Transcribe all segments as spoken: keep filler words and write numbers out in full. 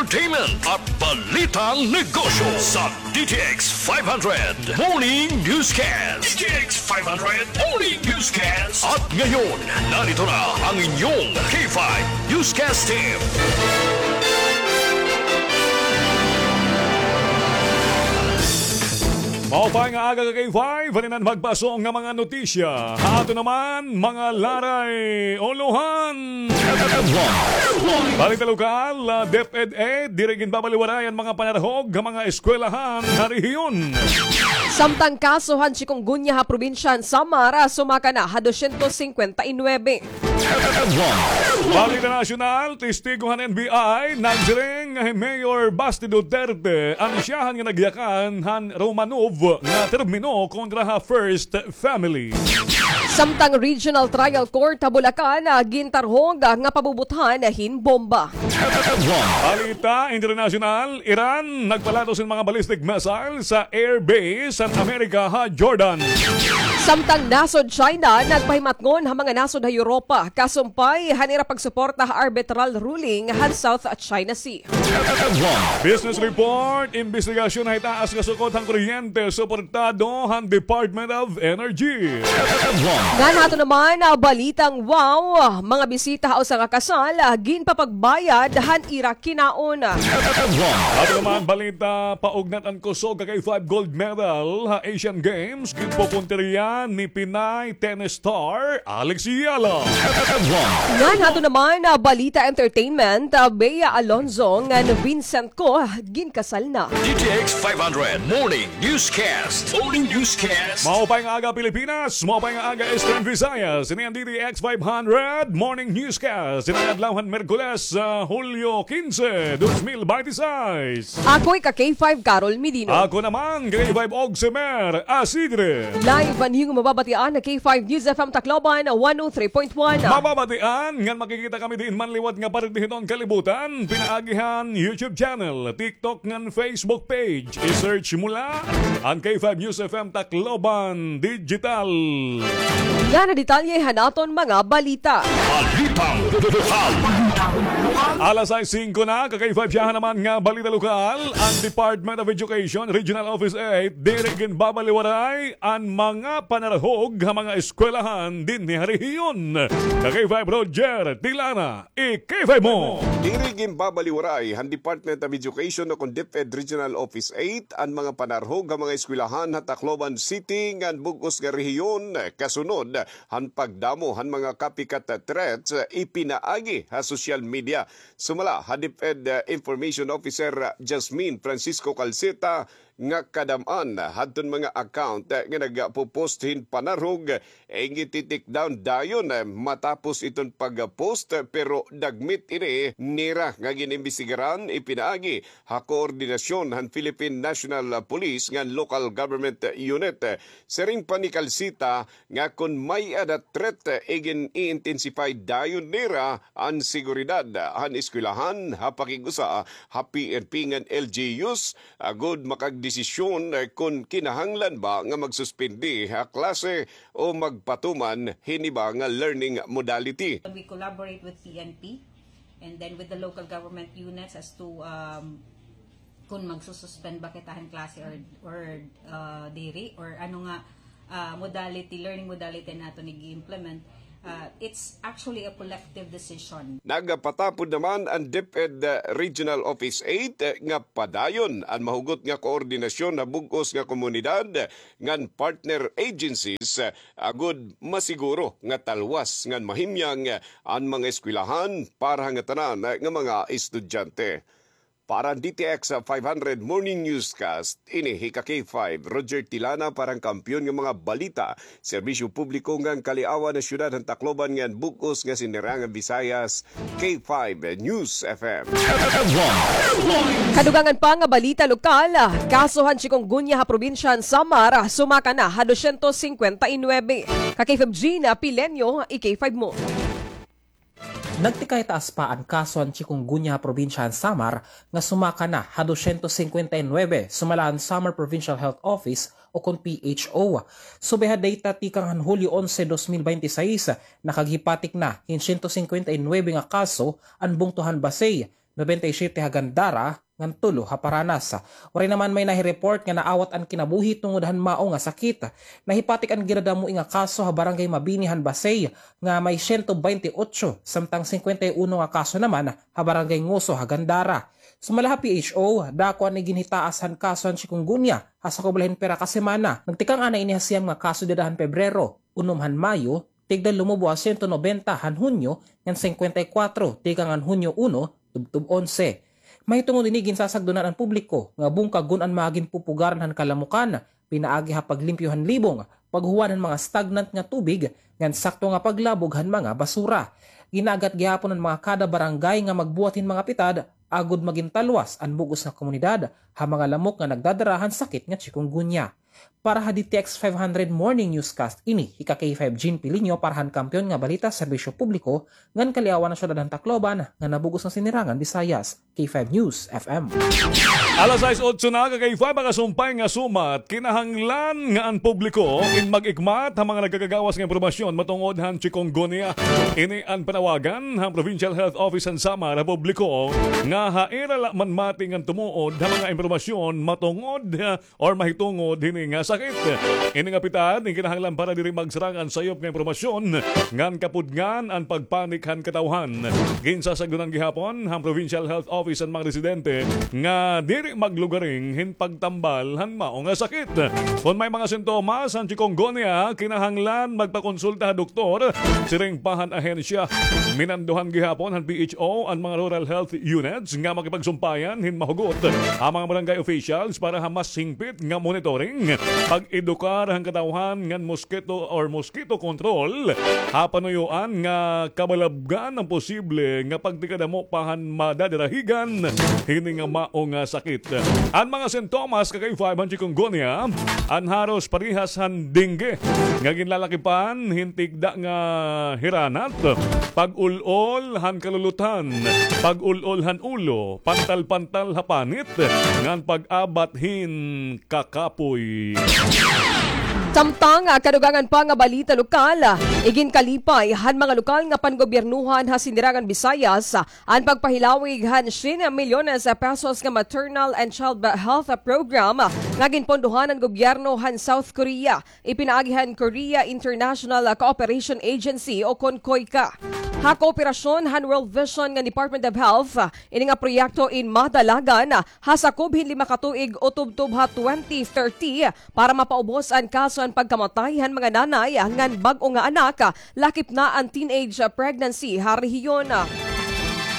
Entertainment at Balitang Negosyo sa D T X five hundred Morning Newscast. D T X five hundred Morning Newscast. At ngayon, narito na ang inyong K five Newscast Team. Maupay nga aga ka K five, halinan magpasong nga mga notisya. Ha aton naman, mga laray, ulohan. Balita lokal, ah, DepEd diri ginbabaliwarayan mga panarhog ha mga eskwelahan ha rehiyon. Samtang kaso han chikungunya ha probinsya han Samar, ah, sumaka na ha dosyentos singkwenta y nuebe. Balita nasyonal, testigo han N B I, nagsiring nga hi Mayor Basti Duterte an siyahan nga nagyakan han Romanov nga termino kontra ha first family. Samtang Regional Trial Court ha Bulacan, ah, gintarhog, ah, nga pabubuthan hin bomba. Balita internasyonal, Iran nagpalatos hin mga ballistic missile sa airbase han Amerika ha Jordan. Samtang nasod China nagpahimatngon ha mga nasod ha Europa kasumpay han ira pagsuporta ha arbitral ruling han South China Sea. Business report, imbestigasyon ha itaas nga sukot han kuryente, suportado han Department of Energy. Ngan ha aton naman, ah, balitang wow, mga bisita ha usa nga kasal, ah, ginpapagbayad han ira kinaon. Aton naman balita, paugnat an kusog ka K five gold medal ha Asian Games, ginpupuntirya ni Pinay tennis star Alex Yala. Ngan ha aton naman, ah, balita entertainment, ah, Bea Alonzo ngan Vincent Co ginkasal na. D T X five hundred Morning Newscast. Morning Newscast. Maupay nga aga, Pilipinas. Maupay nga aga, Eastern Visayas. Ini an D T X five hundred Morning Newscast. Ini an adlaw han Miyerkules, ah, Hulyo kinse, dos mil binte y seis. Ako ika K five Carol Medino. Ako naman, K five Oximer Asidre. Live an iyong mababatian ha K five News F M Tacloban, one oh three point one. Mababatian ngan makikita kami diin man liwat nga parte hiton kalibutan, pinaagi han YouTube channel, TikTok ngan Facebook page. I-search mo la an K five News F M Tacloban Digital. Ngan an detalye han aton mga balita. Balitang lokal. Alas sais singko na, ka K five, siyahan naman nga balita lokal. An Department of Education Regional Office eight diri ginbabaliwaray an mga panarhog ha mga eskwelahan dinhi ha rehiyon. Ka K five Roger Tilana, i-K five mo. Diri ginbabaliwaray han Department of Education o kon DepEd Regional Office eight an mga panarhog ha mga eskwelahan ha Tacloban City ngan bug-os nga rehiyon, kasunod han pagdamo han mga copycat threats, ah, ipinaagi ha social media. Sumala ha DepEd, ah, Information Officer, ah, Jasmine Francisco Calceta nga kadam-an hadton mga account, ah, nga nagpo-post hin panarhog, eh, giti-take down dayon, ah, matapos iton pag-post, pero dagmit ini nira nga gin-imbestigaran, ipinaagi ha koordinasyon han Philippine National Police ngan local government unit. Siring pa ni Calceta nga kon may-ada threat, igin-i-intensify dayon nira an seguridad han eskwelahan ha pakig-usa ha P N P ngan L G Us, agod makagdesisyon kon kinahanglan ba nga magsuspindi ha klase o magpatuman hin iba nga learning modality. We collaborate with P N P and then with the local government units as to, um, kung magsususpend ba kita han klase or, or, uh, diri, or ano nga, uh, modality, learning modality an aton ig-implement. Uh, it's actually a collective decision. Nagpatapod naman an DepEd Regional Office eight nga padayon an mahugot nga koordinasyon ha bug-os nga komunidad ngan partner agencies, agod masiguro nga talwas ngan mahimyang an mga eskwelahan para ha ngatanan nga mga estudyante. Para han D T X five hundred Morning Newscast, ini hi ka K five, Roger Tilana para han Kampiyon nga mga balita, serbisyo publiko ngan kaliawan ha syudad han Tacloban ngan bug-os nga Sinirangan Visayas, K five News F M. Kadugangan pa nga balita lokal, kaso han chikungunya ha probinsya han Samar, sumaka na ha dosyentos singkwenta y nuebe. Ka K five Gina Pileño, i-K five mo. Nagtikay taas pa an kaso han chikungunya ha probinsya han Samar nga sumaka na ha dosyentos singkwenta y nuebe, sumala han Samar Provincial Health Office o kon P H O. Subay ha data tikang han Hulyo onse, dos mil bente y seis, nakaghipatik na hin syentos singkwenta y nuebe nga kaso an bungto han Basey, nobenta y siyete ha Gandara, ngan tulo ha Paranas. Waray naman may nahi-report nga naawat an kinabuhi tungod han mao nga sakit. Nahipatik an ginadamoi nga kaso ha Barangay Mabini han Basey nga may siyento baynte otso, samtang singkwenta y uno nga kaso naman ha Barangay Nguso ha Gandara. Sumala ha P H O, dako an iginhitaas han kaso han chikungunya ha sakob la hin pira ka semana. Nagtikang anay ini ha siyam nga kaso dida han Pebrero, unom han Mayo, tigda lumubo ha siyento nobenta han Hunyo, ngan singkwenta y kwatro tikang han Hunyo uno tubtob onse. Mahitungod hini, ginsasagdonan an publiko nga bungkagon an mga ginpupugaran han kalamukan, pinaagi ha paglimpyo han libong, paghuwad han mga stagnant nga tubig, ngan sakto nga paglabog han mga basura. Gin-aagat gihapon an mga kada barangay nga magbuhat hin mga pitad agod magin talwas an bug-os nga komunidad ha mga lamok nga nagdadara han sakit nga chikungunya. Para ha D T X five hundred Morning Newscast, ini hi ka K five Jean Pilinio para han Kampiyon nga Balita, Serbisyo Publiko, ngan Kaliawan han Syudad han Tacloban, nga nabug-os nga Sinirangan Visayas, K five News F M. Alas sais otso na, ka K five, makasumpay nga sumat, kinahanglan nga an publiko in mag-ikmat ha mga nagkakagawas nga impormasyon matungod han chikungunya. Ini an panawagan han Provincial Health Office han Samar ha publiko nga ha ira la manmati ngan tumuod ha mga impormasyon matungod or mahitungod hini nga sakit. Ini nga pitad, in kinahanglan para diri magsarang an sayop nga impormasyon ngan kapudngan an pagpanik han katawhan. Ginsasagdonan gihapon han Provincial Health Office an mga residente nga diri maglugaring hin pagtambal han mao nga sakit. Kon may mga sintomas han chikungunya, kinahanglan magpakonsulta ha doktor, siring pa han ahensya. Minandohan gihapon han P H O an mga rural health units nga makipagsumpayan hin mahugot ha mga barangay officials para ha mas hingpit nga monitoring, pag-edukar han katawhan ngan mosquito or mosquito control ha panuyoan nga kabalabgan an posible nga pagtikadamo pa han madadirahigan hini nga mao nga sakit. An mga sintomas, ka K five, han chikungunya, an haros parehas han dengue nga ginlalakipan hin tigda nga hiranat, pag-ul-ol han kaluluthan, pag-ul-ol han ulo, pantal-pantal ha panit, ngan pag-abat hin kakapoy. Samtang, ah, kadugangan pa nga balita lokal, ah, iginkalipay han mga lokal nga pangobyernohan ha Sinirangan Visayas, ah, an pagpahilawig han syen milyones pesos nga maternal and child health program, ah, nga ginpondohan han gobyerno han South Korea. Ipinaagi han Korea International Cooperation Agency o kon koica. Ha kooperasyon han World Vision ngan Department of Health, ini nga proyekto in madalagan ha sakob hin lima ka tuig o tubtob ha twenty thirty para mapaubos an kaso han pagkamatay han mga nanay ngan bag-o nga anak, lakip na an teenage pregnancy ha rehiyon.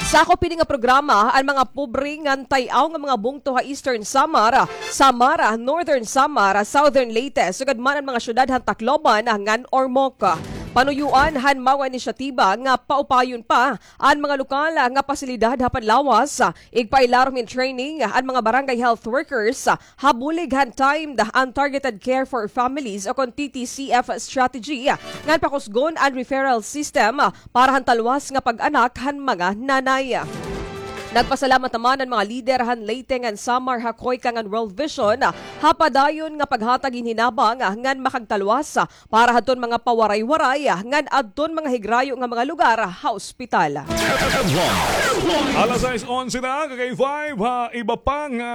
Sakop hini nga programa an mga pobre ngan tay-aw nga mga bungto ha Eastern Samar, Samar, Northern Samar, Southern Leyte, sugad man an mga syudad han Tacloban ngan Ormoc. Panuyoan han mao nga inisyatiba nga paupayon pa an mga lokal nga pasilidad ha panlawas, igpailarom hin training an mga barangay health workers, ha bulig han timed and targeted care for families o kon T T C F strategy, ngan pakusgon an referral system para han talwas nga pag-anak han mga nanay. Nagpasalamat naman an mga lider han Leyte ngan Samar ha koica ngan World Vision ha padayon nga paghatag hin hinabang ngan makagtalwas para hadton mga pawaray-waray ngan adton mga higrayo nga mga lugar ha ospital. Alas sais onse na, ka K five, ha iba pa nga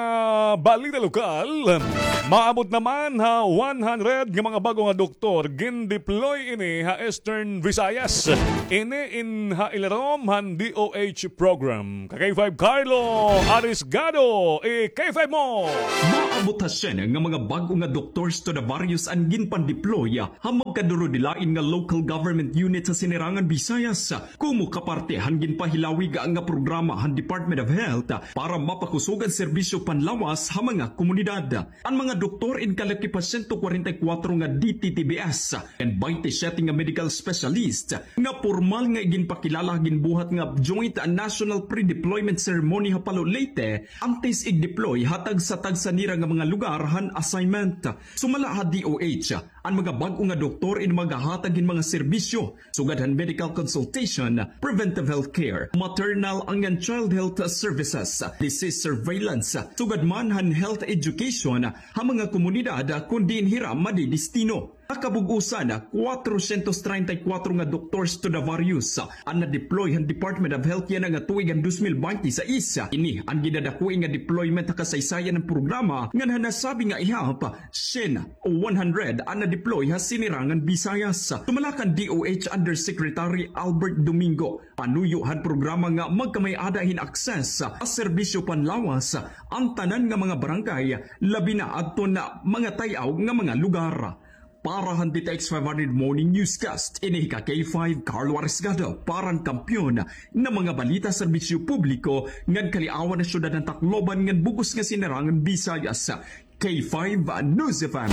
balita lokal. Maabot naman ha one hundred nga mga bag-o nga doktor gin-deploy ini ha Eastern Visayas. Ini in ha ilarom han D O H program. Ka K five Carlo Arisgado, i-K five mo. Maabot ha syen nga mga bag-o nga doctors to the various an ginpan-deploy ha magkadurudilain nga local government unit ha Sinirangan Visayas, komo kaparte han ginpahilawig nga programa han Department of Health para mapakusog an serbisyo panlawas ha mga komunidad. An mga doktor in kalakip ha siyento kwarenta y kwatro nga D T T B S, ngan baynte siyete nga medical specialist nga pormal nga iginpakilala ha ginbuhat nga Joint National Pre-Deployment Ceremony ha Palo, Leyte, antes igdeploy ha tagsa-tagsa nira nga mga lugar han assignment. Sumala ha D O H, an mga bag-o nga doktor in magahatag hin mga serbisyo sugad han medical consultation, preventive health care, maternal ngan child health services, disease surveillance, sugad man han health education ha mga komunidad kon diin hira madidestino. Kabug-osan, kwatrosyentos treinta y kuwatro nga doctors to the various an na-deploy han Department of Health yana nga tuig han dos mil bente sais. Ini an gidadakoi nga deployment ha kasaysayan han programa ngan han nasabi nga ihap, syen o one hundred an na-deploy ha Sinirangan Visayas. Tumala kan D O H Undersecretary Albert Domingo, panuyo han programa nga magkamay-ada hin access ha serbisyo panlawas an tanan nga mga barangay, labi na adton mga tay-aw nga mga lugar. Para han D T X five hundred Morning Newscast, ini hi ka K five Carlo Arisgado, para han kampiyon nga mga balita, serbisyo publiko, ngan kaliawan han syudad han Tacloban ngan bug-os nga Sinirangan Visayas. K five News F M.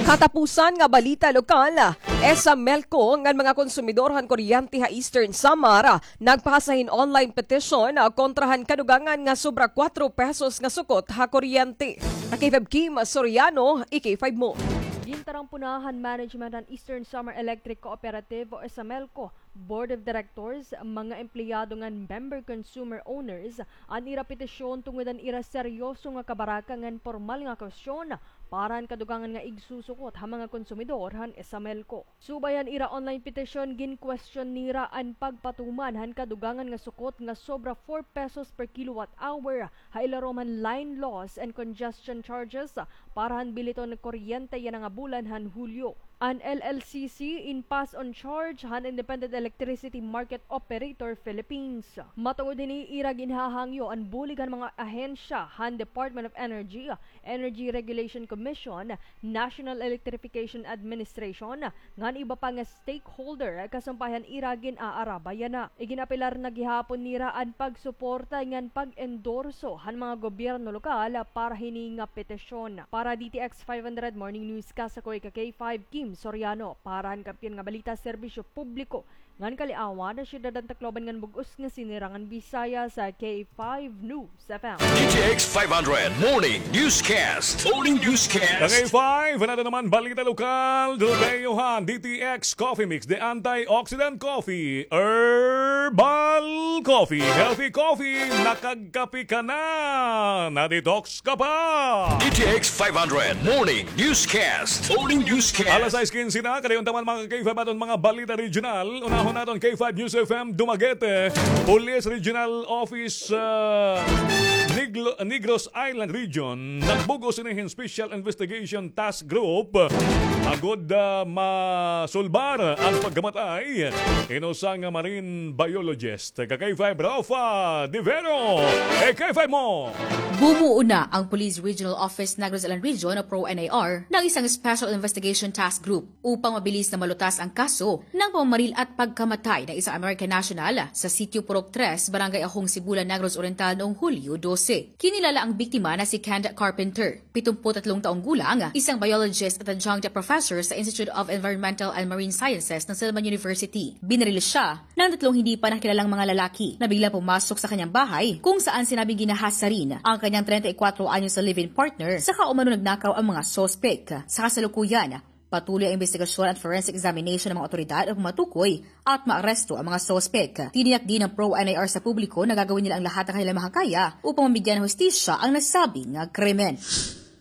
Katapusan nga balita lokal, ESAMELCO ngan mga konsumidor han kuryente ha Eastern Samar nagpahasa hin online petition, ah, kontra han kadugangan nga sobra kuwatro pesos nga sukot ha kuryente. Ka K five Kim Soriano, i K five mo. Gintarampo na han management han Eastern Samar Electric Cooperative o ESAMELCO, Board of Directors, mga empleyado ngan member consumer owners an ira petisyon tungod han ira seryoso nga kabaraka ngan pormal nga kwestiyon para han kadugangan nga igsusukot ha mga konsumidor han ESAMELCO. Subay han ira online petition, gin-question nira an pagpatuman han kadugangan nga sukot nga sobra four pesos per kilowatt hour ha ilarom han line loss and congestion charges para han biliton nga kuryente yana nga bulan han Hulyo. An L L C C in pass on charge han Independent Electricity Market Operator Philippines. Matungod hini, ira ginhahangyo an bulig han mga ahensya han Department of Energy, Energy Regulation Commission, National Electrification Administration, ngan iba pa nga stakeholder, kasumpay han ira gin-aarabay yana. Iginapelar na gihapon nira an pagsuporta ngan pag-endorso han mga gobyerno lokal para hini nga petisyon. Para D T X five hundred Morning Newscast, ako hi ka K five Kim Soriano, para han kampiyon nga balita, serbisyo publiko, ngan kaliawan han syudad han Tacloban ngan bug-os nga Sinirangan Visayas, sa K five News F M. D T X five hundred Morning Newscast. Morning Newscast. Ka K five, ano naman balita lokal? Dugayohan, D T X Coffee Mix, the antioxidant coffee, herbal coffee, healthy coffee, nakagkape ka na, na-detox ka pa. D T X five hundred Morning Newscast. Morning Newscast. Alas sais kinse na, kadayon ta man mga K five aton mga balita regional. Unahon naton K five News F M Dumaguete. Police Regional Office, ah, Negro-, Negros Island Region, nagbug-os ini hin Special Investigation Task Group agod, ah, masulbar an pagkamatay hin usa nga marine biologist. Ka K five, Rafa Divero. Eh, K five mo. Bumuo na ang Police Regional Office Negros Island Region o PRO-NIR ng isang Special Investigation Task Group upang mabilis na malutas ang kaso ng pamamaril at pagkamatay ng isang American national sa Sitio Purok tres, Barangay Ahong Sibulan, Negros Oriental noong Hulyo dose. Kinilala ang biktima na si Kent Carpenter, pitong put tatlong taong gulang, isang biologist at adjunct professor sa Institute of Environmental and Marine Sciences ng Silman University. Binaril siya ng tatlong hindi pa nakilalang mga lalaki na biglang pumasok sa kanyang bahay, kung saan sinabing ginahasa rin ang kanyang treinta y cuatro anyos na live-in partner, saka umano nagnakaw ang mga suspek. Sa kasalukuyan, patuloy ang investigasyon at forensic examination ng mga otoridad upang matukoy at maaresto ang mga suspek. Tiniyak din ng PRO-NIR sa publiko na gagawin nila ang lahat ng kanilang makakaya upang mabigyan ng hustisya ang nasabing krimen.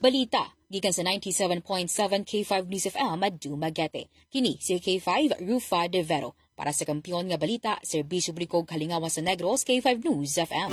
Balita gikan sa ninety-seven point seven K five News F M Dumaguete. Kini si K five, Rufa Devero. Para sa kampiyon nga balita, serbisyo publiko ug kalingawan sa Negros, K five News F M.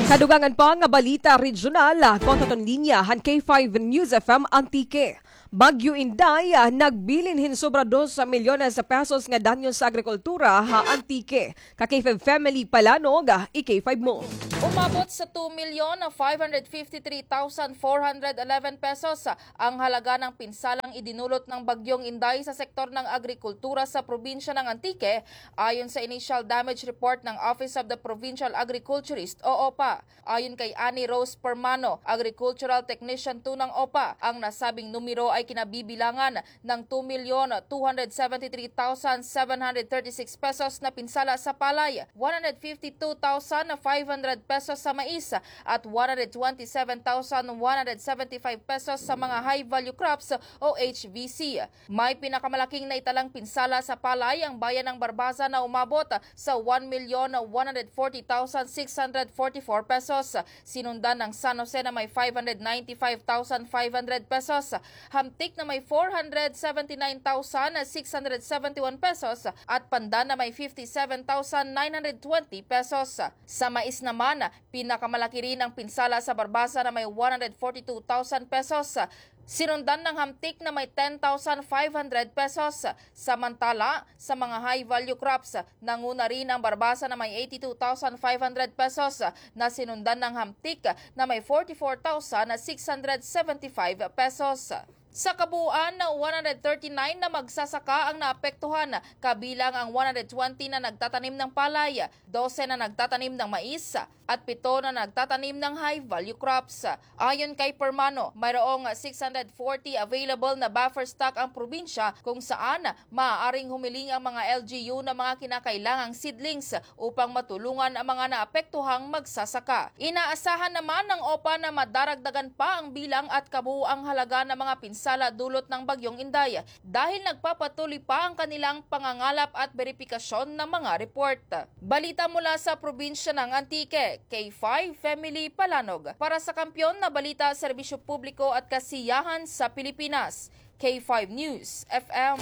Kadugangan pa nga balita regional, kontra aton linya han K five News F M Antique. Bagyo Inday, ah, nagbilin hin sobra dos milyones sa pesos nga danyo sa agrikultura ha Antique. Ka K five Family Palanog, ah, i K five mo. Umabot sa two million five hundred fifty-three thousand four hundred eleven pesos, ah, ang halaga ng pinsalang idinulot ng Bagyong Inday sa sektor ng agrikultura sa probinsya ng Antique, ayon sa initial damage report ng Office of the Provincial Agriculturist o OPA. Ayon kay Annie Rose Permano, Agricultural Technician two ng OPA, ang nasabing numero ay kinabibilangan ng two million two hundred seventy-three thousand seven hundred thirty-six pesos na pinsala sa palay, one hundred fifty-two thousand five hundred pesos sa mais at one hundred twenty-seven thousand one hundred seventy-five pesos sa mga high-value crops o H V C. May pinakamalaking naitalang pinsala sa palay ang bayan ng Barbaza na umabot sa one million one hundred forty thousand six hundred forty-four pesos. Sinundan ng San Jose na may five hundred ninety-five thousand five hundred pesos, Hamtic na may four hundred seventy-nine thousand six hundred seventy-one pesos at Pandan na may fifty-seven thousand nine hundred twenty pesos. Sa mais naman, pinakamalaki rin ang pinsala sa Barbaza na may one hundred forty-two thousand pesos. Sinundan ng Hamtic na may ten thousand five hundred pesos. Samantala, sa mga high-value crops, nanguna rin ang Barbaza na may eighty-two thousand five hundred pesos na sinundan ng Hamtic na may forty-four thousand six hundred seventy-five pesos. Sa kabuuan, one hundred thirty-nine na magsasaka ang naapektuhan, kabilang ang one hundred twenty na nagtatanim ng palay, dose na nagtatanim ng mais, at pito na nagtatanim ng high-value crops. Ayon kay Permano, mayroong six hundred forty available na buffer stock ang probinsya kung saan maaaring humiling ang mga L G U ng mga kinakailangang seedlings upang matulungan ang mga naapektuhang magsasaka. Inaasahan naman ng OPA na madaragdagan pa ang bilang at kabuuang halaga ng mga pinsala dulot ng Bagyong Inday dahil nagpapatuloy pa ang kanilang pangangalap at beripikasyon ng mga report. Balita mula sa probinsya ng Antique, K five Family Palanog. Para sa Kampiyon na Balita, Serbisyo Publiko at Kasiyahan sa Pilipinas, K five News F M.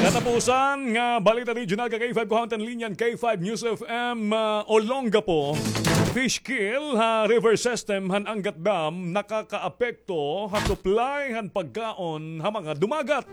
Katapusan nga balita regional ka K five, kuhaon ta an linya han K five News F M, ah, Olongapo. Fish kill ha river system han Angat Dam nakakaapekto ha supply han pagkaon ha mga dumagat.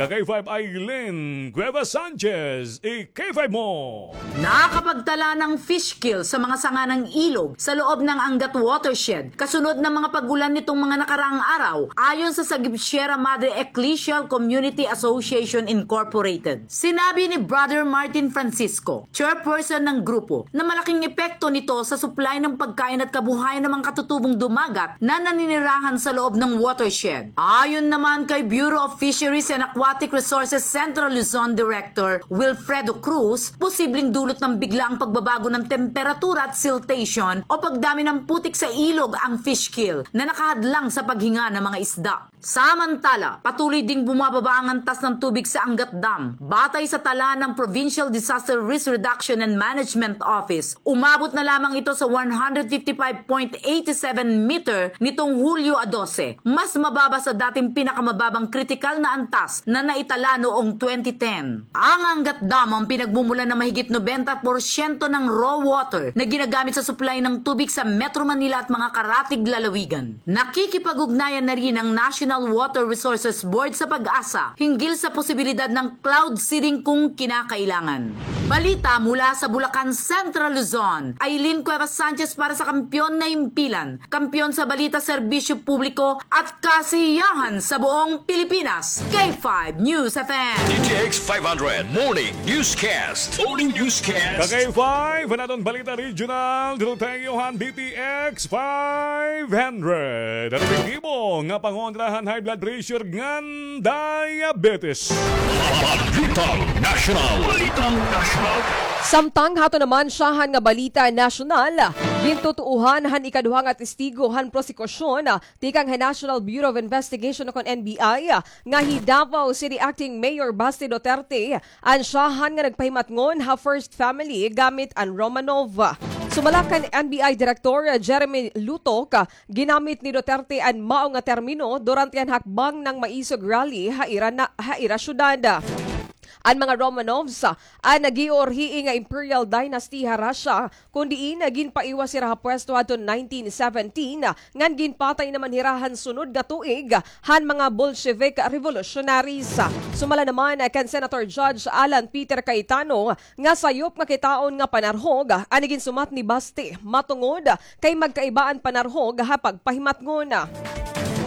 Ka K five Aileen Cuevas Sanchez, i-K five mo. Nakapagtala ng fish kill sa mga sanga ng ilog sa loob ng Angat Watershed, kasunod ng mga pag-ulan nitong mga nakaraang araw, ayon sa Sagip Sierra Madre Ecclesial Community Association Incorporated. Sinabi ni Brother Martin Francisco, chairperson ng grupo, na malaking epekto nito sa supply ng pagkain at kabuhayan ng mga katutubong dumagat na naninirahan sa loob ng watershed. Ayon naman kay Bureau of Fisheries and Aquatic Resources Central Luzon Director Wilfredo Cruz, posibleng dulot ng biglaang pagbabago ng temperatura at siltation o pagdami ng putik sa ilog ang fish kill na nakahadlang sa paghinga ng mga isda. Samantala, patuloy ding bumababa ang antas ng tubig sa Angat Dam. Batay sa tala ng Provincial Disaster Risk Reduction and Management Office, umabot na lamang ito sa one hundred fifty-five point eight seven meter nitong Hulyo a dose, mas mababa sa dating pinakamababang kritikal na antas na naitala noong twenty ten. Ang Angat Dam ang pinagmumulan ng mahigit nobenta porsyento ng raw water na ginagamit sa supply ng tubig sa Metro Manila at mga karatig lalawigan. Nakikipag-ugnayan na rin ang National Water Resources Board sa PAGASA hinggil sa posibilidad ng cloud seeding kung kinakailangan. Balita mula sa Bulacan, Central Luzon. Aileen Cuevas Sanchez para sa Kampiyon na Himpilan, kampiyon sa balita, serbisyo publiko at kasiyahan sa buong Pilipinas. K five News F M. D T X five hundred Morning Newscast. Morning Newscast. Ka K five, an aton balita regional, dulot ha iyo han D T X five hundred. An epektibo nga pangontra han high blood pressure ngan diabetes. Balitang National. Balitang National. Samtang hato naman syahan nga balita nasyonal, gintutuohan han ikaduha nga testigo han prosekusyon tikang ha National Bureau of Investigation o kon N B I nga hi Davao City Acting Mayor Basti Duterte an syahan nga nagpahimatngon ha first family gamit an Romanov. Sumala kan N B I Director Jeremy Lutok, ginamit ni Duterte an mao nga termino durante an hakbang nang maisog rally ha ira na, ha ira syudad. An mga Romanovs, an nag-iorhii nga imperial dynasty ha Russia, kon diin ginpaiwas hira ha pwesto hadton nineteen seventeen, ngan ginpatay naman hira han sunod nga tuig han mga Bolshevik revolutionaries. Sumala naman kan Senator Judge Alan Peter Cayetano nga sayop nga kitaon nga panarhog an iginsumat ni Basti, matungod kay magkaiba an panarhog ha pagpahimatngon.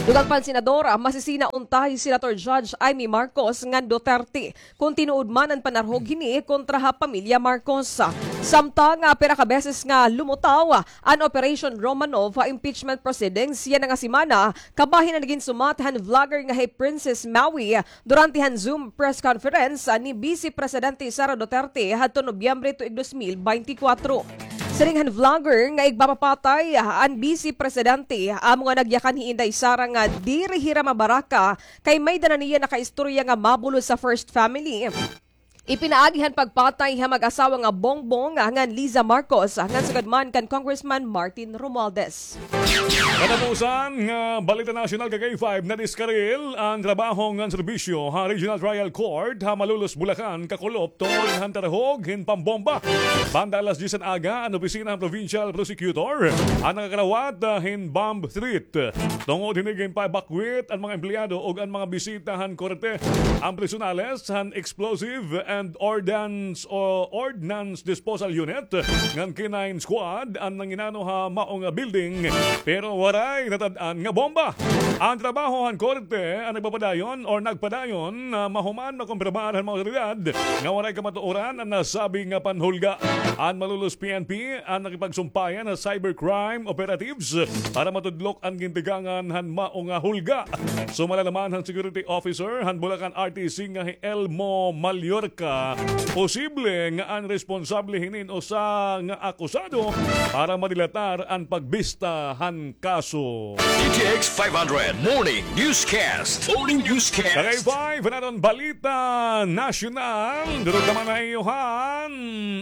Dugang pa an senador, masisina unta hi Senator Judge Imee Marcos ngan Duterte kon tinuod man an panarhog hini kontra ha pamilya Marcos. Samtang, ah, pira ka beses nga lumutaw an Operation Romanov ha impeachment proceedings yana nga semana, kabahin an ginsumat han vlogger nga hi Princess Maui durante han Zoom press conference, ah, ni Vice Presidente Sara Duterte hadto Nobyembre tuig dos mil beintikwatro. Siring han vlogger nga igpapapatay an Vice Presidente, amo nga nagyakan hi Inday Sara nga diri hira mabaraka kay may-ada na niya nakaistorya nga mabulos sa first family. Ipinaagi han pagpatay ha mag-asawa nga Bongbong ngan Liza Marcos, ngan sugad man kan Congressman Martin Romualdez. Katapusan nga balita nasyonal, ka K five, nadiskaril an trabaho ngan serbisyo ha Regional Trial Court ha Malolos, Bulacan, kakulop tungod han tarhog hin pambomba. Banda alas diyes han aga, an opisina han Provincial Prosecutor an nakakarawat, ah, hin bomb threat. Tungod hini, ginpa-evacuate an mga empleyado ug an mga bisita han korte. An personales han Explosive and Ordnance o Ordnance Disposal Unit ngan K nine Squad an nanginano ha mao nga building, pero waray natad-an nga bomba. An trabaho han korte an nagpapadayon or nagpadayon na mahuman makumpirmar han mga awtoridad nga waray kamatuoran an nasabi nga panhulga. An Malolos P N P an nakipagsumpayan ha cybercrime operatives para matudlok an gintigangan han mao nga hulga. Sumala naman han security officer han Bulacan R T C nga hi Elmo Mallorca, posible nga an responsable hinin usa nga akusado para madilatar an pagbista han kaso. D T X five hundred Morning Newscast. Morning Newscast. Tagay five, naton balita nasyonal. Durog naman na iyo han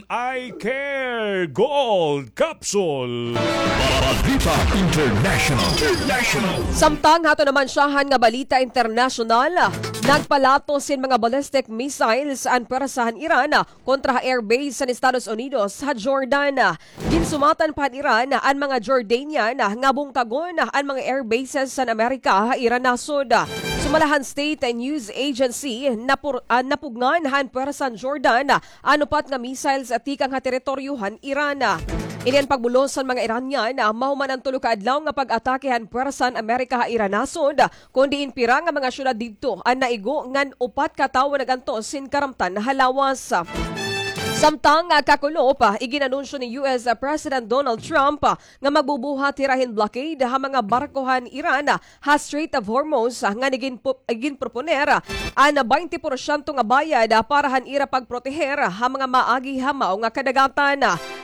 Eye Care Gold Capsule. Balita International. International. Samtang haton naman syahan nga balita internasyonal, nagpalatos hin mga ballistic missiles an pwersa han Iran kontra ha airbase han Estados Unidos ha Jordan. Ginsumatan pa han Iran an mga Jordanian nga bungkagon an mga airbases han Amerika ha ira nasod. Sumala han state news agency, napur-, ah, napugngan han pwersa han Jordan an upat nga missiles tikang ha teritoryo han Iran. Ini an pagbulos han mga Iranian mahuman an tulo ka adlaw nga pag-atake han pwersa han Amerika ha ira nasod, kon diin pira nga mga syudad didto an naigo ngan upat ka tawo nag-antos hin karamtan ha lawas. Samtang, ah, kakulop, ah, igin-anunsyo ni U S President Donald Trump, ah, nga magbubuhat hira hin blockade ha mga barko han Iran, ah, ha Strait of Hormuz, ah, ngan igin-, iginproponer, ah, an baynte porsyento nga bayad, ah, para han ira pagproteher, ah, ha mga maagi ha mao nga kadagatan.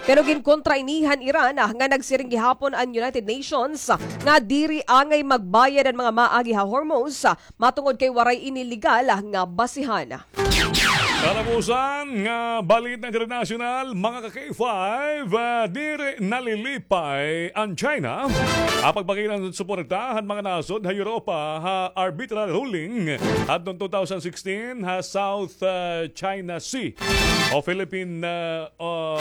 Pero ginkontra ini han Iran, ah, nga nagsiring gihapon an United Nations, ah, nga diri angay magbayad an mga maagi ha Hormuz, ah, matungod kay waray ini legal, ah, nga basihan. Katapusan nga balita internasyonal, mga ka K five, ah, diri nalilipay an China ha pagpakilang suporta han mga nasod ha Europa ha arbitral ruling adtong two thousand sixteen ha South, ah, China Sea o Philippine, ah, ah,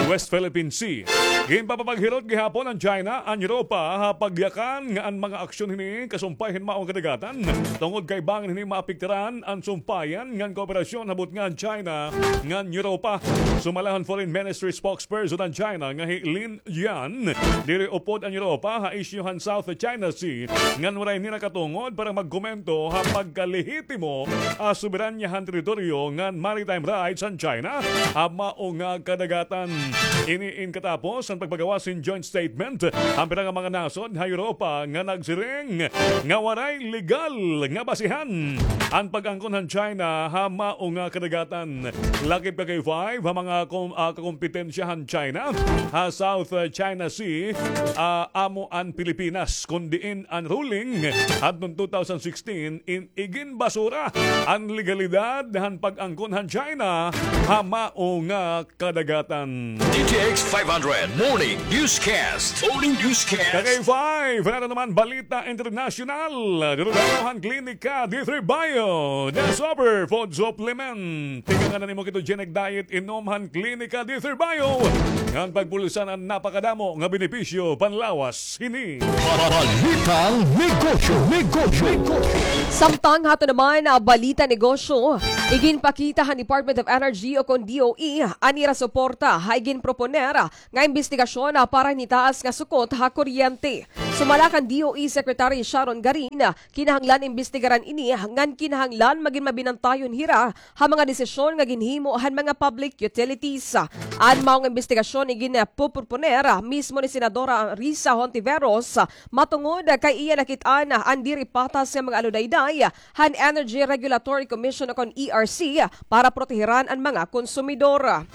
West Philippine Sea. Ginpapapaghirot gihapon an China an Europa ha pagyakan nga an mga aksyon hini kasumpay hin maong kadagatan, tungod kay bangin hini maapektaran an sumpayan ngan kooperasyon ha butnga han China ngan Europa. Sumala han Foreign Ministry spokesperson han China nga hi Lin Jian, diri upod an Europa ha isyu han South China Sea, ngan waray nira katungod para magkomento ha pagkalehitimo ha soberanya han teritoryo ngan maritime rights han China ha mao nga kadagatan. Ini in katapos han pagpagawas hin joint statement han pira nga mga nasod ha Europa nga nagsiring nga waray legal nga basihan an pag-angkon han China ha mao nga kadagatan. Lakip ka K five ha mga kom-, ah, kakompetensya han China ha South, ah, China Sea, ah, amo an Pilipinas, kon diin an ruling hadton two thousand sixteen in iginbasura an legalidad han pag-angkon han China ha mao nga kadagatan. D T X five hundred Morning Newscast. Morning Newscast. Ka K five, naton naman balita internasyonal. Durog-an han Klinika D three Bio, the super food supplement. Tikangan na nimo ketogenic diet, inom han Klinika D three Bio. Ngan pagbulisan an napakadamo nga benepisyo panlawas hini. Balitang negosyo, negosyo, negosyo. Samtang haton naman, ah, balita negosyo, iginpakita han Department of Energy o kon D O E an ira suporta ha iginproponer, ah, nga imbestigasyon, ah, para han hitaas nga sukot ha kuryente. Sumala kan D O E Secretary Sharon Garin, ah, kinahanglan imbestigaran ini ngan kinahanglan magin mabinantayon hira ha mga desisyon nga ginhimo han mga public utilities. An mao nga imbestigasyon igin, ah, puproponer, ah, mismo ni Senadora Risa Hontiveros, ah, matungod, ah, kay iya nakit-an, ah, an diri patas nga mga aludayday, ah, han Energy Regulatory Commission o kon E R C, ah, para proteheran an mga konsumidor.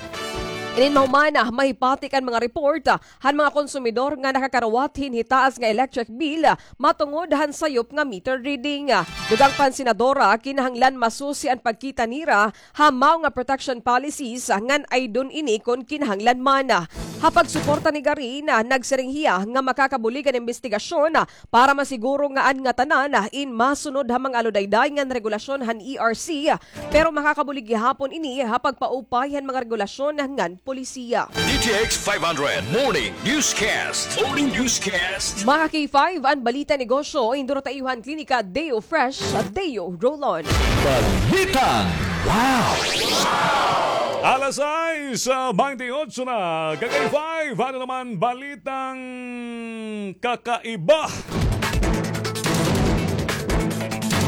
Inin mahuman, mahipati kan mga report han mga konsumidor nga nakakarawat hin hitaas nga electric bill matungod han sayop nga meter reading. Dugang pa han senadora, kinahanglan masusi an pagkita nira ha mao nga protection policies ngan aydon ini kon kinahanglan man. Ha pagsuporta ni Garin, nagsiring hiya nga makakabulig an imbestigasyon para masiguro nga an ngatanan in masunod ha mga aludayday ngan regulasyon han E R C, pero makakabulig gihapon ini ha pagpaupay han mga regulasyon ngan polisiya. D T X five hundred Morning Newscast. Morning Newscast. Mga K five, an balita negosyo, hinduruta iyo han Klinika Deo Fresh, Deo Roll-On. Balitang Wow! Alas sais, ah, baynte otso na. Ka-K five, ano naman balitang kakaiba?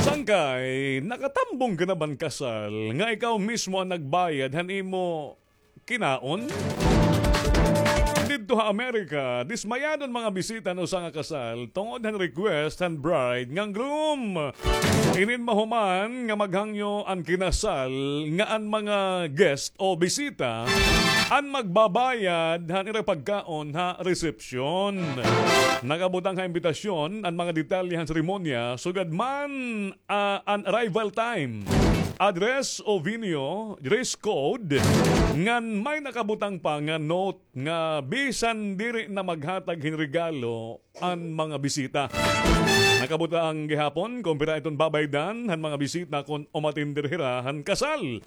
Sangkay, nakatambong ka na ban kasal nga ikaw mismo an nagbayad han imo kinaon? Didto ha Amerika, dismayado an mga bisita han usa nga kasal tungod han request han bride ngan groom. Inin mahuman nga maghangyo an kinasal nga an mga guest o bisita an magbabayad han ira pagkaon ha resepsyon. Nakabutang ha imbitasyon an mga detalye han seremonya, sugad man ah, an arrival time, address o venue, dress code, ngan may nakabutang pa nga note nga bisan diri na maghatag hin regalo an mga bisita. Nakabutang gihapon kon pira iton babaydan han mga bisita kon umatender hira han kasal.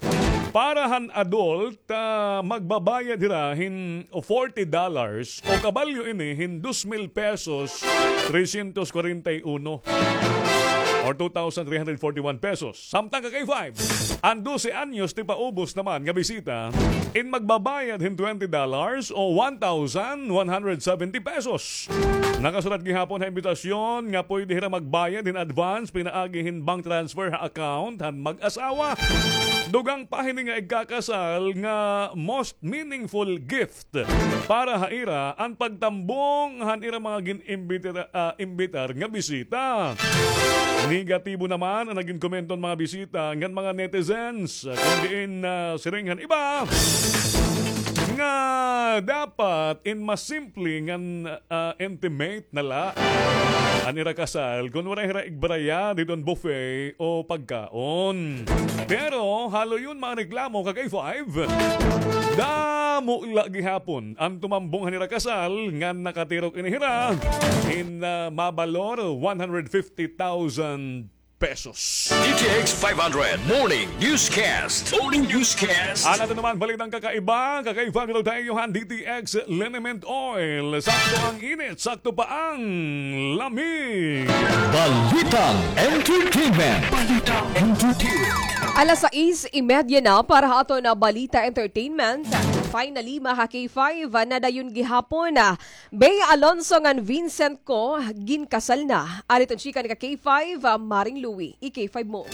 Para han adult, ah, magbabayad hira hin forty dollars o kabalyo ini hin dos mil pesos, trescientos cuarenta y uno, or two thousand three hundred forty-one pesos. Samtang ka-K five, an dose anyos ti paubos naman nga bisita, in magbabayad hin twenty dollars o one thousand one hundred seventy pesos. Nakasulat gihapon ha imbitasyon nga pwede hira magbayad hin advance pinaagi hin bank transfer ha account han mag-asawa. Dugang pa hini nga igkakasal nga most meaningful gift para ha ira an pagtambong han ira mga gin-imbitar, ah, imbitar nga bisita. Negatibo naman an nagin komento han mga bisita ngan mga netizens, kun diin, ah, siring han iba nga dapat in mas simple ngan, ah, intimate na la an ira kasal kun waray hira igbaraya didto han buffet o pagkaon. Pero haloyon mga reklamo, ka-K five. Damo la gihapon an tumambong han ira kasal ngan nakatirok ini hira hin, ah, mabalor one hundred fifty thousand pesos. D T X five hundred Morning Newscast. Morning Newscast. An aton naman balitang kakaiba, kakaiba nga daw tayo han D T X Liniment Oil. Sakto ang init, sakto pa ang lamig. Balitang entertainment. Balitang entertainment. Alas sais y media na para ha aton na balita entertainment. Finally, mga K five, nadayon gihapon na Bea Alonso ngan Vincent Co ginkasal na. Ari iton chika ni ka K five, ah, Maring Louie. I-K five mo.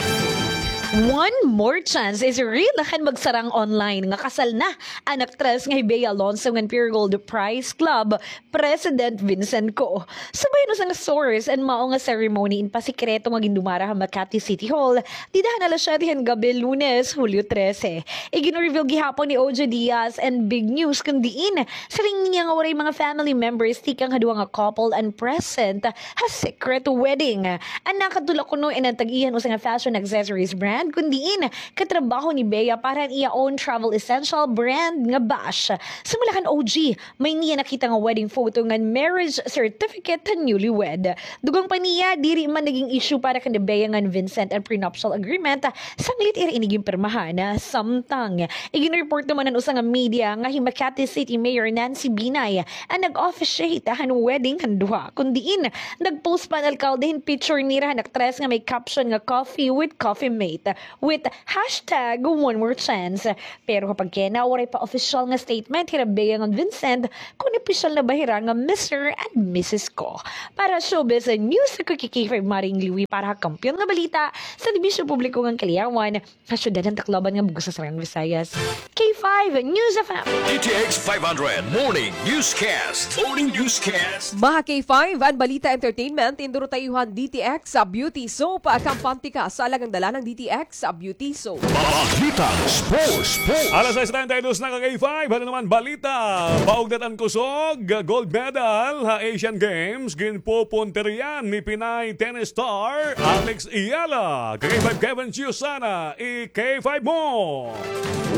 One more chance is real kan magsarang online nga kasal na an aktres nga hi Bea Alonso ngan Pure Gold Prize Club President Vincent Co. Subay han usa nga source, an mao nga ceremony in pasikreto nga gindumara ha Makati City Hall dida han alas siyete han gabi, Lunes, Hulyo trese. Igin-reveal gihapon ni O J Diaz an big news kun diin siring niya nga waray mga family members tikang ha duha nga couple an present ha secret wedding. An nakadto la kuno in an tag-iya han usa nga fashion accessories brand kun diin katrabaho ni Bea para han iya own travel essential brand nga bash. Sumala kan O J, may niya nakita nga wedding photo ngan marriage certificate han newlywed. Dugang pa niya, diri man naging issue para kan Bea ngan Vincent an prenuptial agreement sanglit ira ini ginpirmahan. Samtang igin-report naman han usa nga media nga hi Makati City Mayor Nancy Binay an nag-officiate han wedding han duha, kun diin nag-post pa an alkalde hin picture nira han aktres nga may caption nga "Coffee with Coffee Mate" with hashtag one more chance. Pero ha pagkena, waray pa opisyal nga statement hira Bea ngan Vincent kon opisyal na ba hira nga Mister and Missus Co. Para ha Showbiz News, ako hi K five Maring Louie para ha Kampiyon nga Balita, Serbisyo Publiko ngan Kaliyawan, ha syudad han Tacloban nga bug-os ha Saraang Visayas. K Five News F M. D T X five hundred Morning Newscast. Morning Newscast. Mga K five, an balita entertainment, induro ta iyo han D T X sa Beauty Soap, kampante ka sa alang dalan han D T X sa Beauty Soap. Balitang sports, sports. Alas sais treinta y dos na, ka K five, ano naman balita? Baugnat an kusog, gold medal ha Asian Games, ginpupuntirya ni Pinay tennis star Alex Eala. Ka K five Kevin Chiusana, i-K five mo.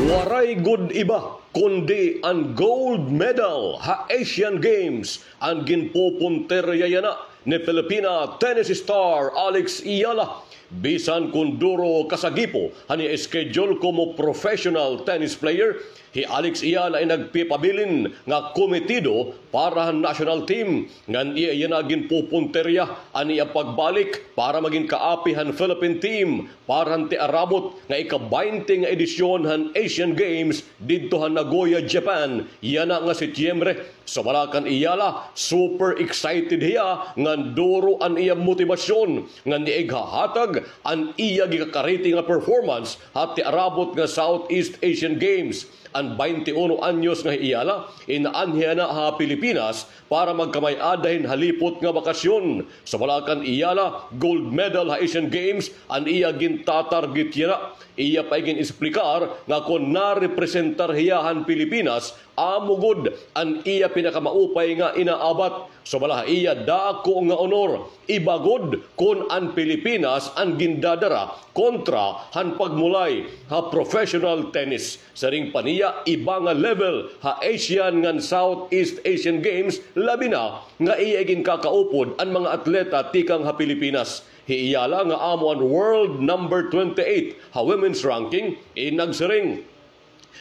Waray gud iba kundi an gold medal ha Asian Games an ginpupuntirya yana ni Filipina tennis star Alex Eala. Bisan kon duro kasagipo han iya schedule komo professional tennis player, hi Alex Eala in nagpipabilin nga kometido para han national team, ngan iya yana ginpupuntirya an iya pagbalik para magin kaapi han Philippine team para han tiarabot nga ika-baynte nga edisyon han Asian Games didto han Nagoya, Japan, yana nga Setyembre. Sumala kan Eala, super excited hiya ngan duro an iya motibasyon ngan iya ighahatag an iya gikakariti nga performance ha tiarabot nga Southeast Asian Games. An baynte uno anyos nga hi Eala, inaanhi yana ha Pilipinas para magkamay-ada hin halipot nga bakasyon. Sumala kan Eala, gold medal ha Asian Games an iya gintatarget yana. Iya pa igin-esplikar nga kon narepresentar hiya han Pilipinas, amo gud an iya pinakamaupay nga inaabat. Sumala ha iya, dako nga honor. Iba gud kon an Pilipinas an gindadara kontra han pagmulay ha professional tennis. Siring pa niya, iba nga level ha Asian ngan Southeast Asian Games, labi na nga iya iginkakaupod an mga atleta tikang ha Pilipinas. Hi Eala nga amo an world number twenty-eight ha women's ranking, in nagsiring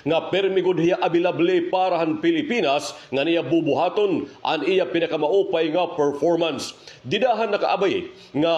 nga pirmi gud hiya abilable para han Pilipinas ngan iya bubuhaton an iya pinakamaupay nga performance. Dida han nakaabay nga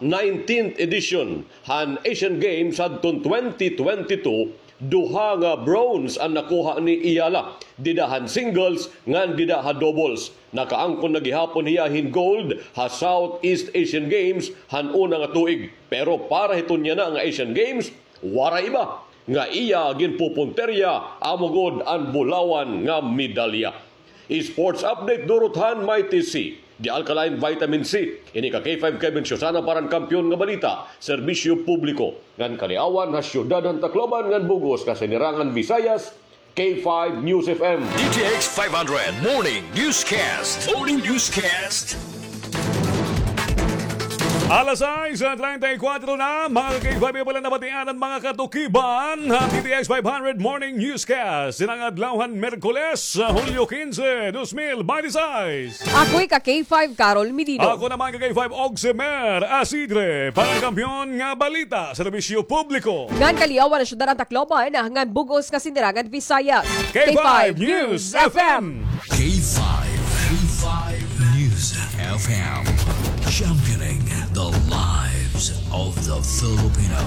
nineteenth edition han Asian Games hadton twenty twenty-two, duha nga bronze an nakuha ni Eala, dida han singles ngan dida ha doubles. Nakaangkon na gihapon hiya hin gold ha Southeast Asian Games han una nga tuig. Pero para hiton yana nga Asian Games, waray iba nga iya ginpupuntirya, amo gud an bulawan nga medalya. Sports update durot han Mighty C, the alkaline vitamin C. Ini ka K five Kevin Siusana para han Kampiyon nga Balita, Serbisyo Publiko. Ngan kaliawan ha syudad han Tacloban ngan bug-os nga Sinirangan Visayas, K five News F M. D T X five hundred Morning Newscast. Morning Newscast. Alas sais treinta y cuatro na, mga ka-K five, pala nabatian an mga katukiban ha D T X five hundred Morning Newscast. Dinhi nga adlaw han Miyerkules, Hulyo quince, dos mil veintiséis. Ako ika K five Carol Medino. Ako naman ka K five Oximer Asidre, para han Kampiyon nga Balita, Serbisyo Publiko. Ngan kaliawan ha syudad han Tacloban ngan bug-os nga Sinirangan Visayas. K five News F M. K five, K five News F M. Championing the lives of the Filipino.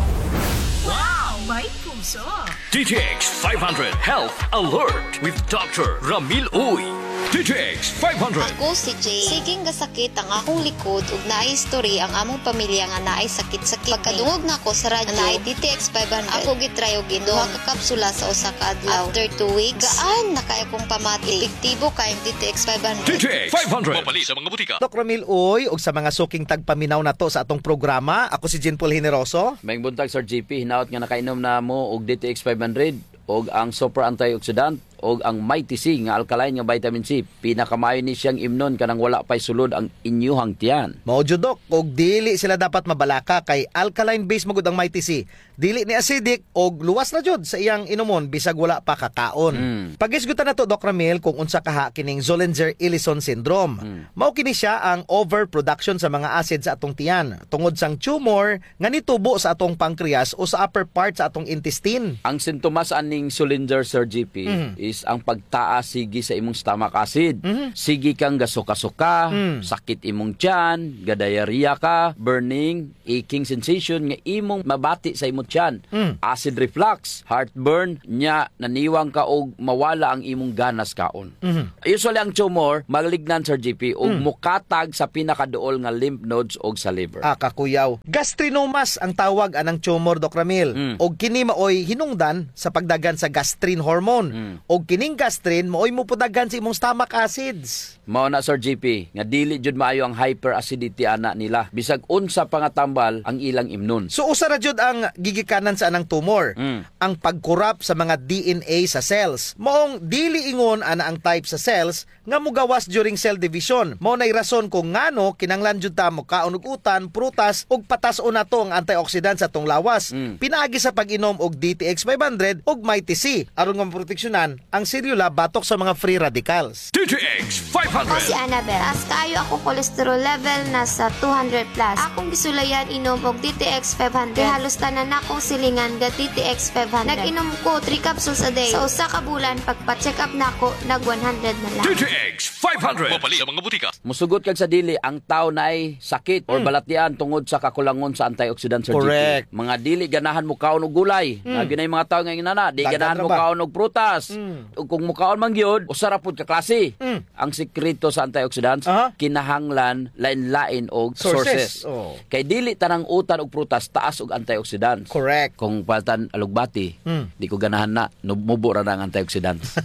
Wow! May puso! D T X five hundred Health Alert with Doctor Ramil Uy. D T X five hundred. Ako si Jane. Sige nga sakit ang akong likod ug naay history ang among pamilya nga naay sakit-sakit. Pagkadungog nako sa radyo nga naay D T X five hundred, ako gitry og inom duha ka kapsula sa usa ka adlaw. After two weeks, gaan na kaayo akong pamati. Epektibo kaayo ang D T X five hundred. D T X five hundred. Mapalit sa mga butika. Doc Ramil Uy, ug sa mga suking tagpaminaw nato sa atong programa, ako si Jean Paul Generoso. Maayong buntag, Sir G P. Hinaot nga nakainom na mo og D T X five hundred og ang super antioxidant og ang Mighty C nga alkaline nga vitamin C. Pinakamaayo ni siyang imnon kanang wala pay sulod ang inyuhang tiyan. Mao jud, Doc, og dili sila dapat mabalaka kay alkaline base man gud ang Mighty C. Dili ni acidic og luwas na jud sa iyang inumon bisag wala pa kakaon. Mm. Paghisgutan nato, Doc Ramil, kung unsa kaha kining Zollinger-Ellison syndrome. Mm. Mao kini siya ang overproduction sa mga acid sa atong tiyan tungod sang tumor nga nitubo sa atong pancreas o sa upper part sa atong intestine. Ang sintomas aning Zollinger, Sir G P, mhm, is ang pagtaas sige sa imong stomach acid. Mhm. Sige kang gasuka-suka, Mm. sakit imong tiyan, ga-diarrhea ka, burning, aching sensation nga imong mabati sa imong tiyan. Mm. Acid reflux, heartburn, nya naniwang ka og mawala ang imong ganas kaon. Mhm. Usually ang tumor, malignant, Sir G P, ug Mm. mokatag sa pinakaduol nga lymph nodes ug sa liver. Ah, kakuyaw. Gastrinomas ang tawag anang tumor, Doc Ramil. Mm. Ug kini maoy hinungdan sa pagdaghan sa gastrin hormone. Mm. Ug kining gastrin maoy mopudaghan sa imong stomach acids. Mao na, Sir G P, nga dili jud maayo ang hyperacidity ana nila. Bisag unsa pa nga tambal ang ilang imnon. So, usa ra jud ang gigikanan sa anang tumor, Mm. ang pag-corrupt sa mga D N A sa cells. Maong dili ingon ana ang type sa cells nga mogawas during cell division. Mao nay rason kung ngano kinahanglan jud ta mokaon og utan, prutas, ug patas-on nato ang antioxidant sa atong lawas. Mm. Pinaagi sa pag-inom og D T X five hundred ug Mighty C, aron nga maproteksyonan ang selula batok sa mga free radicals. D T X five hundred. Ako si Annabel. Taas kaayo akong cholesterol level, nasa two hundred plus. Akong gisulayan inom og D T X five hundred. Kay halos tanan nakong silingan ga D T X five hundred. Nag-inom ko three capsules a day. Sa usa ka bulan, pagpa-check up nako, nag one hundred na lang. D T X five hundred. Mapalit sa mga butika. Musugot kag sa dili, ang tawo naay sakit or Mm. balatian tungod sa kakulangon sa antioxidant, Sir G P. Correct. Mga dili ganahan mokaon og gulay. Mm. Naa gyud nay mga tawo nga ingon ana, di Daghan ganahan ra ba? mokaon og prutas. Mm. Ug kung mokaon man gyud, usa ra pud ka klase. Mm. Ang sikreto sa antioxidants, Aha. kinahanglan lain-lain og Sources. sources. Oh. Kay dili tanang utan ug prutas taas og antioxidants. Correct. Kung paltan alugbati, Mm. di ko ganahan na, nub-, mubo ra na ang antioxidants.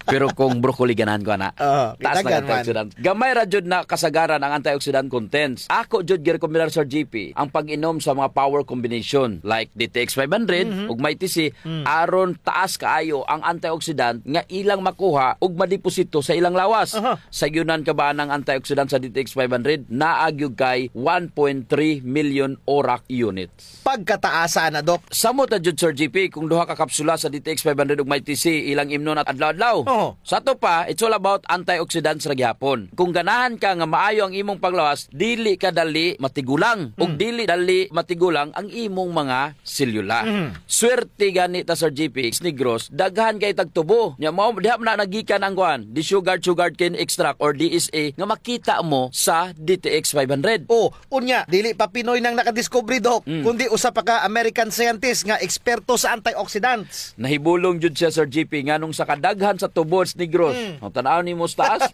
Pero kung broccoli, ganahan ko ana. Oo, Taas na daghan man. antioxidants. Gamay ra jud na kasagaran ang antioxidant contents. Ako jud girekomendar, Sir G P, ang pag-inom sa mga power combination like D T X five hundred Mhm. ug Mighty C Mm. aron taas kaayo ang antioxidant nga ilang makuha ug madeposito sa ilang lawas. Aha. Sayonan ka ba anang antioxidant sa D T X five hundred? Naa gyud kay one point three million ORAC unit. Pagkataasa na, Doc. Samot na jud, Sir G P, kung duha ka kapsula sa D T X five hundred ug Mighty C ilang imnon at adlaw-adlaw. Oo. Sa ato pa, it's all about antioxidants ra gihapon. Kung ganahan ka nga maayo ang imong panglawas, dili ka dali matigulang. Ug Mm. dili dali matigulang ang imong mga selula. Mhm. Swerte gani ta, Sir G P, Negros, daghan kay tag tubo. Nya mao, diha man na nagikan ang kuan, the sugar, sugarcane extract or D S E nga makita mo sa D T X five hundred. Oh, Unya, dili pa Pinoy nang nakadiskubre, Doc, Mm. kundi usa pa ka American scientist nga eksperto sa antioxidants. Nahibulong jud siya, Sir G P, nganong sa kadaghan sa tubo sa Negros. Mm. O, tan-aw nimo sa taas,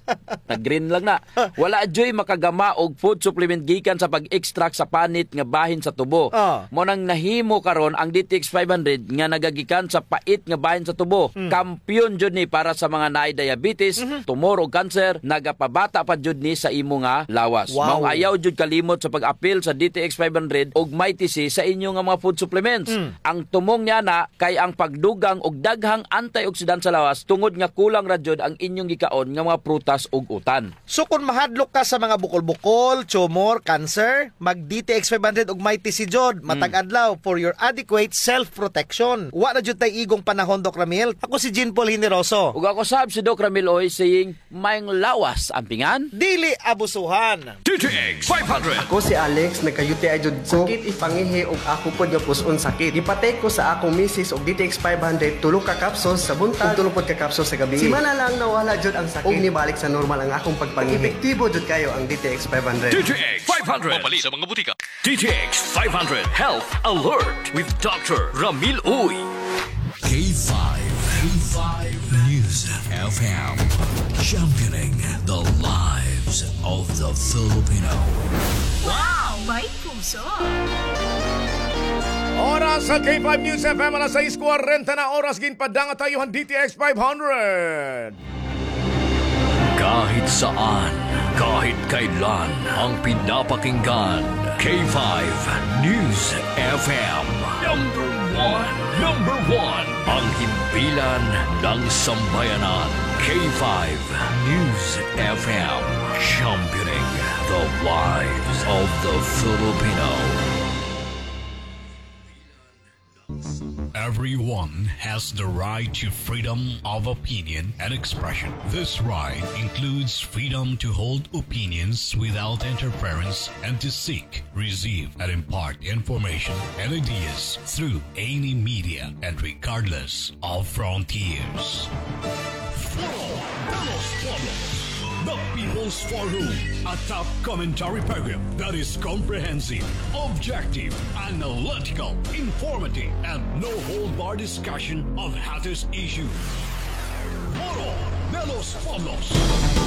nag-green lang na. Wala juy makagama og food supplement gikan sa pag-extract sa panit nga bahin sa tubo. Ah. Mao nang nahimo karon ang D T X five hundred nga nagagikan sa pait nga bahin sa tubo. Mm. Kampiyon jud ni para sa mga naay diabetes, Mhm. tumor o cancer, nagapabata pa jud ni sa imo nga lawas. Wow. Maong ayaw jud kalimot sa pag-apil sa D T X five hundred ug Mighty C sa inyo nga mga food supplements. Mm. Ang tumong niana kay ang pagdugang og daghang antioxidant sa lawas tungod nga kulang ra jud ang inyong gikaon nga mga prutas ug utan. So, kon mahadlok ka sa mga bukol-bukol, tumor, cancer, mag D T X five hundred ug Mighty C jud, Mm. matag adlaw for your adequate self-protection. Wa na jud tay igong panahon, Doc Ramil. Ako si Jean Paul Generoso. Ug ako sab si Doc Ramil Uy, saying, "Maayong lawas, ampingan." Dili abusuhan. D T X five hundred. Ako si Alex, nagka-U T I jud ko. Sakit ipangihi ug ako pod nga pus-on sakit. Gipa-take ko sa akong misis og D T X five hundred, tulo ka capsules sa buntag, ug tulo pod ka capsules sa gabii. Semana lang nawala jud ang sakit. Ug nibalik sa normal ang akong pagpangihi. Epektibo jud kayo ang D T X five hundred. D T X five hundred. Mapalit sa mga butika. D T X five hundred Health Alert with Doctor Ramil Uy. K five, K five News F M, championing the lives of the Filipino. Wow! May puso! Oras sa K five News F M, alas sais kwarenta na oras, ginpadangat ta iyo han D T X five hundred. Kahit saan, kahit kailan, ang pinapakinggan, K five News F M. Number one, number one, ang himpilan ng sambayanan, K five News F M, championing the lives of the Filipino. Everyone has the right to freedom of opinion and expression. This right includes freedom to hold opinions without interference and to seek, receive, and impart information and ideas through any media and regardless of frontiers. Foro de los Pueblos, the People's Forum, a top commentary program that is comprehensive, objective, analytical, informative, and no-hold-bar discussion of hottest issues. Foro de los Pueblos.